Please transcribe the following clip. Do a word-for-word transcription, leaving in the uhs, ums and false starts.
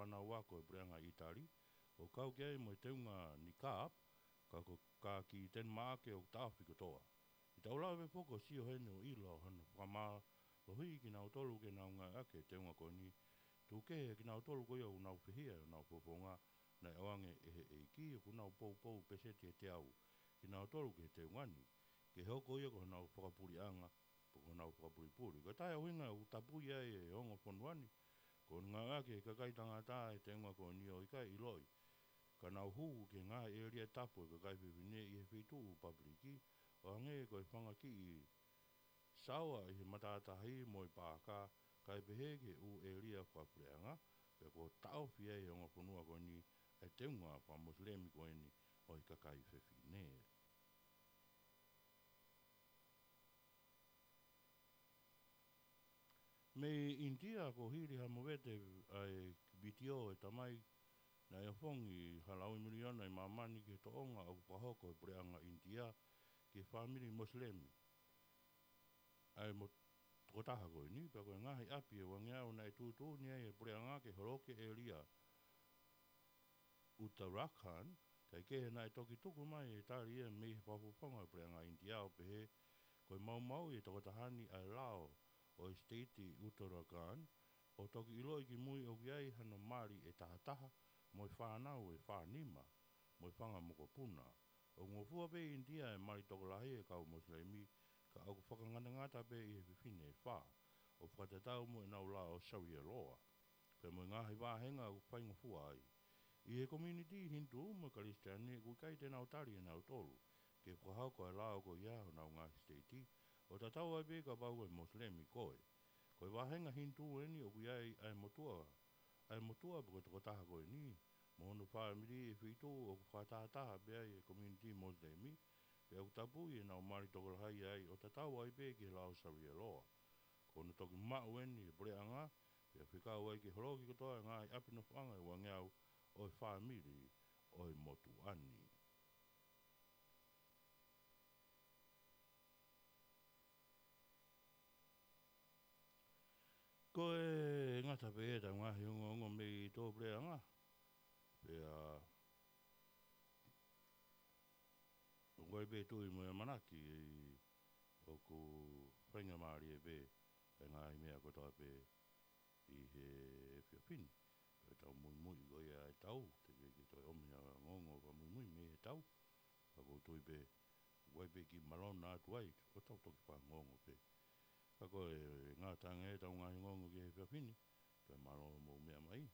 fānau ako ʻa e puleʻanga ʻItali, ʻo kau ki ai mo e teunga niqab, ka ko e kaki Tenimaʻake ʻoku taʻofi kotoa. ʻI heʻetau lave foki ʻo sio heni ʻo ʻilo hano fakamālohiʻi kinautolu ke nau ngāueʻaki e teunga ko eni, tuku kehe kinautolu ko ia ʻoku nau fihia ʻi honau fofonga, naʻe ʻoange ʻe he ʻEiki, ʻoku nau poupou peseti ʻe teau kinautolu ki he teunga ni, ke hoko ia ko honau fakapuleʻanga, pe ko honau fakapulipuli. Ko e taha e ʻuhinga ʻoku tapui ai e ongo fonua ni, ko hono ngāueʻaki ʻe he kakai tangata e teunga ko eni ʻo ʻikai ʻiloʻi ka nau hū ki he ngaahi ʻēlia tapu ʻo e kakai fefine ʻi he feituʻu papiliki, ʻo hangē ko e fanga kiʻi saoa ʻi he matātahi mo e paaka, kae pehē ki he ʻū ʻēlia fakapuleʻanga, pea kuo taʻofi ai ʻe he ongo fonua ko eni ʻa e teunga fakamosilemi ko eni ʻo e kakai fefine. Mei ʻInitia, kuo hili ha movete ʻa e vitiō ʻo e tamai naʻe ofongi ha lauimiliona ʻi māmani ki he toʻonga ʻoku fakahoko ʻe he puleʻanga ʻInitia ki he fāmili Mosilemi ʻa e mo-, tokotaha ko eni, pea ko e ngaahi ʻapi ʻe uangeau naʻe tuʻutuʻuni ai ʻe he puleʻanga ke holoki e ʻēlia Uttarakhand, kae kehe naʻe toki tuku mai e tali ia mei he fakafofonga ʻo e puleʻanga ʻInitia ʻo pehē, ko e maumauʻi ʻe he tokotaha ni ʻa e lao ʻo e siteiti Uttarakhand, ʻo toki ʻiloʻi kimui ʻoku ʻi ai hano mali ʻe tahataha, mo e fānau ʻe fānima, mo e fanga mokopuna. ʻOku ngofua pē ʻi ʻInitia e mali tokolahi ʻa e kau Mosilemi, ka ʻoku fakangatangata pē ʻi he fefine ʻe fā, ʻo fakatatau mo ʻenau lao Sarialoa, pea mo e ngaahi vāhenga ʻoku faingofua ai. ʻI he community Hindu mo e Kalisitiane, ʻoku ʻikai te nau tali ʻe nautolu ke fakahoko e lao ko ia ʻi honau ngaahi siteiti, ʻo tatau ai pē kapau ko e Mosilemi koe. Ko e vāhenga Hindu eni ʻoku ʻi ai ʻa e motuʻa, ʻa e motuʻa pe ko e tokotaha ko eni mo hono fāmili ʻi he feituʻu ʻoku fakatahataha pē ai e community Mosilemi, pea ʻoku tapui ʻenau mali tokolahi ai ʻo tatau ai pē ki he lao Sarialoa. Ko hono toki maʻu eni ʻe he puleʻanga, pea fekau ai ke holoki kotoa e ngaahi ʻapi nofoʻanga ʻe uangeau ʻo e fāmili ʻo e motuʻa ni. Ko e ngata pē ʻetau ngaahi ongoongo mei tuʻapuleʻanga. Pea ʻoku ʻi ai pē tui mo e ʻamanaki ʻoku faingamālie pē e ngaahi meʻa kotoa pē ʻi he efiafi ni. Pea tau muimui ko ia e tau, teʻeki ke toe ʻomi ha ongoongo fakamuimui mei he tau. Ka ʻoku ou tui pē, ʻoku ʻi ai pē kiʻi malona atu ai, ʻo tau toki fakaongoongo pē. Ka ko e ngata ange ʻetau ngaahi ongoongo ki he efiafi ni, pea mālō hoʻomou meʻa mai.